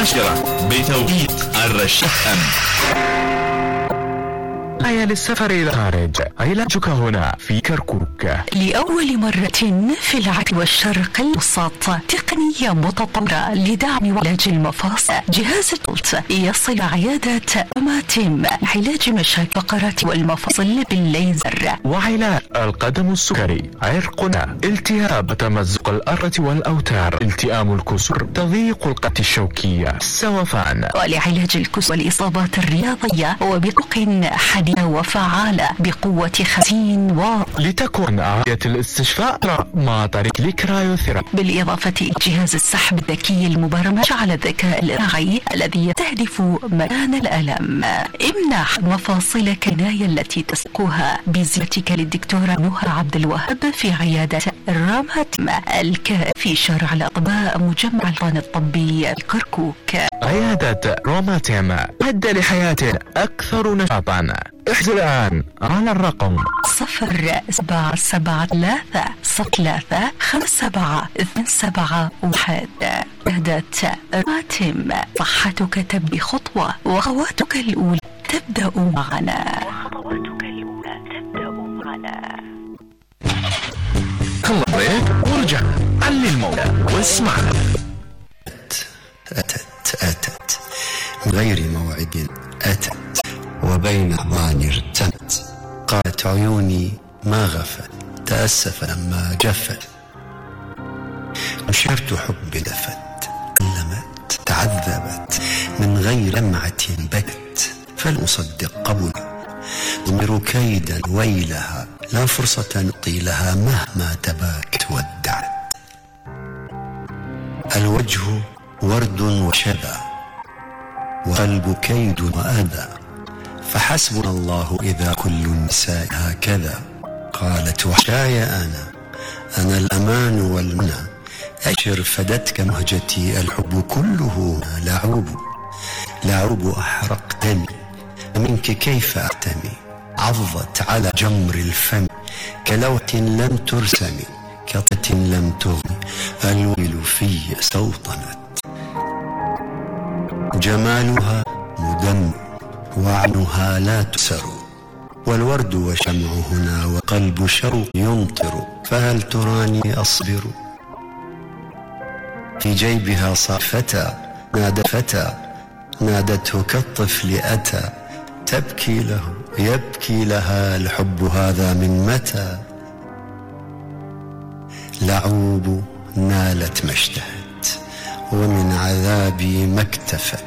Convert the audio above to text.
مباشرة بتوقيت الرشيد. هيا للسفر إلى الخارج، علاجك هنا في كركوك. لأول مرة في العرب والشرق الأوسط تقنية متطورة لدعم وعلاج المفاصل. جهاز التولت يصل عيادة روماتيم علاج مشاكل الفقرات والمفاصل بالليزر، وعلاج القدم السكري، عرقنا، التهاب تمزق الأرة والأوتار، التئام الكسور، تضييق القطع الشوكية، السوفان، ولعلاج الكسور والإصابات الرياضية وبطرق حديثة وفعالة بقوة 50 واط، لتكون عملية الاستشفاء مع طريق الكرايوثيرابي، بالإضافة إلى جهاز السحب الذكي المبرمج على الذكاء الاصطناعي الذي يستهدف مكان الألم. امنح مفاصلك العناية التي تسقها بزيارتك للدكتورة نهى عبد الوهاب في عيادة روماتيم في شارع الأطباء مجمع القطن الطبي الكركوك. عيادة روماتيم، مهدة لحياة أكثر نشاطا. احجز الآن على الرقم 0773-5727. عيادة روماتيم، صحتك تبدأ خطوة وخطواتك الأولى تبدأ معنا. خلص بريك ورجع علي الموضة واسمعنا. أتت من غير موعد، أتت وبين أحضاني ارتمت. قالت عيوني ما غفت، تأسف لما جفت. نشرت حب لفت، ألمت تعذبت من غير لمعة بكت. فلأصدق قبل ضمر كيدا ويلها، لا فرصة نعطي لها مهما تباكت ودعت. الوجه ورد وشذا، وقلب كيد وأذى، فحسبنا الله إذا كل النساء هكذا. قالت وحشاي أنا الأمان والمنى، أشر فدتك مهجتي، الحب كله لعوب أحرق دمي، منك كيف أعتمي. عضت على جمر الفم كلوحة لم ترسم، كطة لم تغني، الويل في سوطنت. جمالها مدمر وعنها لا تسر، والورد وشمع هنا وقلب شوق يمطر. فهل تراني أصبر؟ في جيبها صافتى نادى فتى، نادته كالطفل أتى. تبكي له يبكي لها، الحب هذا من متى؟ لعوب نالت ما اشتهت، ومن عذابي ما اكتفت.